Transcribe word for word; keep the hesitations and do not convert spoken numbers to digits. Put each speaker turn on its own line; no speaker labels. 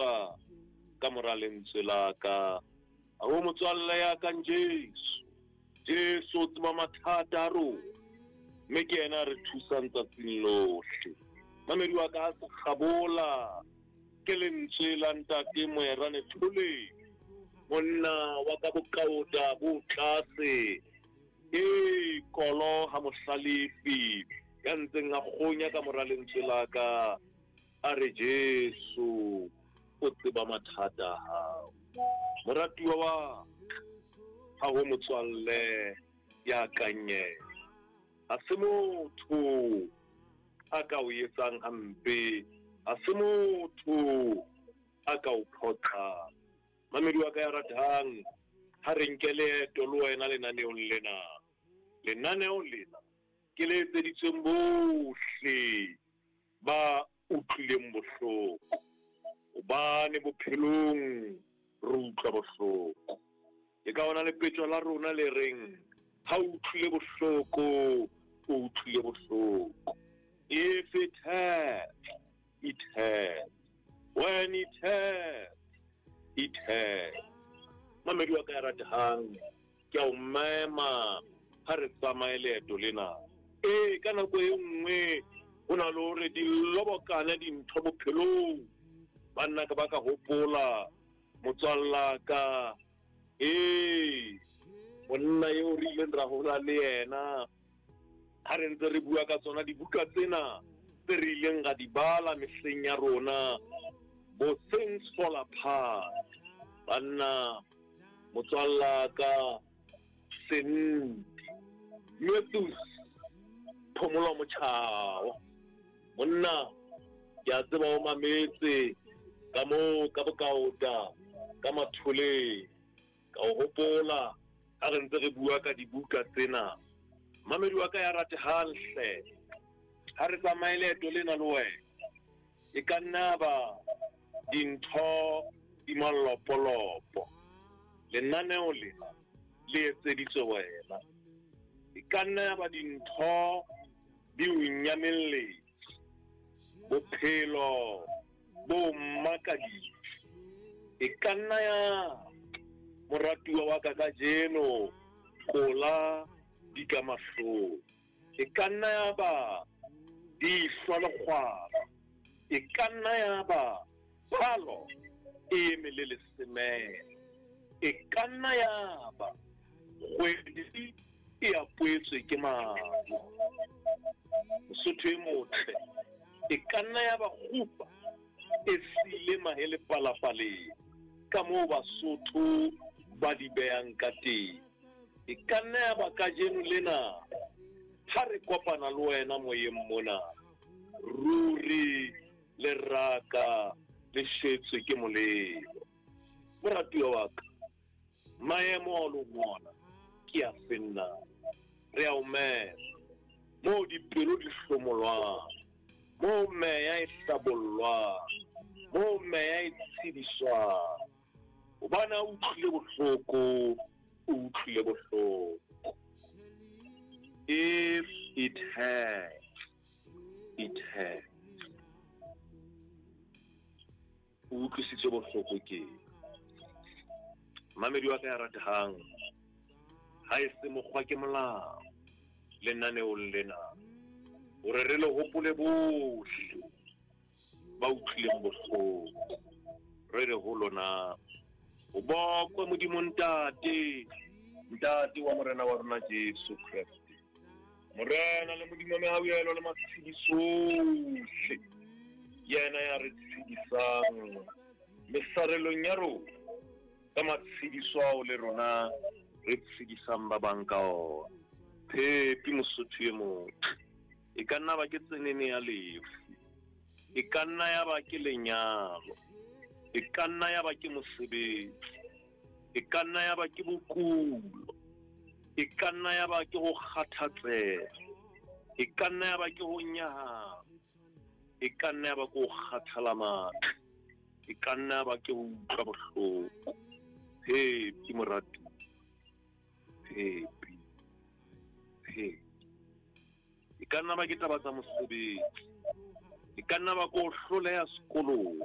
kgabola ka mora lentswe la ka. Ha ho motswalle ya kang Jesu. Jesu o tseba mathata a rona, mme ke yena a re thusang tsatsing lohle. Mamedi wa ka, ha se kgabola ke lentswe la ntate Moerane Tholeng, monna wa ka bokaota bo tlase, e kolo ha mohlalefi ya ntseng a kgonya ka mora lentswe la ka, a re Jesu o tseba mathata a hao. Moratuwa wa ka, ha ho motswalle ya kang yena. Ha se motho a ka o etsang hampe, ha se motho a ka o phoqang. Mamedi wa ka ya ratang, ha re nke leeto le wena lenaneong lena. Lenaneo lena ke le etseditsweng bohle ba utlwileng bohloko, hobane bophelong re utlwa bohloko. Ke ka ona lepetjo la rona le reng, ha o utlwile bohloko, o utlwile bohloko. If it hurts, it hurts. When it hurts, it hurts. Mamedi wa ka ya ratehang, ke a o mema ha re tsamaye leeto lena. Ee, ka nako e nngwe ho na le hore di lobokane dintho bophelong. Banna ka ba ka hopola motswalla ka, ee, monna eo re ileng ra hola le yena, ha re ntse re bua ka tsona dibuka tsena tse re ileng ra di bala mehleng ya rona, bo Things Fall Apart. Banna, motswalla ka Senti Matthews Phomolo Motjhao, monna ke a tseba o mametse ka moo ka bokaota ka Matholeng. Ka o hopola ha re ntse re bua ka dibuka tsena. Mamedi wa ka ya ratehang hle, ha re tsamaye leeto lena le wena, e ka nna ba dintho di malopolopo. Lenaneo lena le etseditswe wena. E ka nna ya ba dintho di o nyamelletse, bophelo bo makaditse. E ka nna ya moratuwa wa ka kajeno kola di ka mahlong. E ka nna ya ba di hlwa lekgwara. E ka nna ya ba phalo e eme le lesemela. E ka nna ya ba kgwedi e apoetswe ke maru. Mosotho e motle, e ka nna ya ba kgupa e siile mahe lepalapaleng, ka moo Basotho ba di behang ka teng. E ka nna ya ba kajeno lena ha re kopana le wena moyeng mona, ruri leraka le shetswe ke molelo. Moratuwa wa ka, maemo a leng ona ke a fenna. Re a o mema moo dipelo di hlomolwang, moo meya e hlabollwang, moo meya e tshediswang. Hobane ha o utlwile bohloko, o utlwile bohloko. If it hurts, it hurts. O utlwisitswe bohloko ke mamedi wa ka ya ratehang, ha e se mokgwa ke molao lenaneong lena, hore re le hopole bohle ba utlwileng bohloko. Re re ho lona, ho bokwe Modimo Ntate, Ntate wa Morena wa rona Jesu Kreste, Morena le Modimo mehauhelo le matshediso ohle, yena ya re tshedisang mesarelong ya rona ka matshediso ao le rona re tshedisang ba bang ka ona. Phepi Mosotho e motle, e ka nna ba ke tsenene ya lefu, e ka nna ya ba ke lenyalo, e ka nna ya ba ke mosebetsi, e ka nna ya ba ke bokulo, e ka nna ya ba ke ho kgathatseha, e ka nna ya ba ke ho nyahama, e ka nna ya ba ke ho kgathala matla, e ka nna ya ba ke ho utlwa bohloko. Phepi moratuwa, phepi, phepi. E ka nna ba ke taba tsa mosebetsi, e ka nna ba ke ho hloleha sekolong,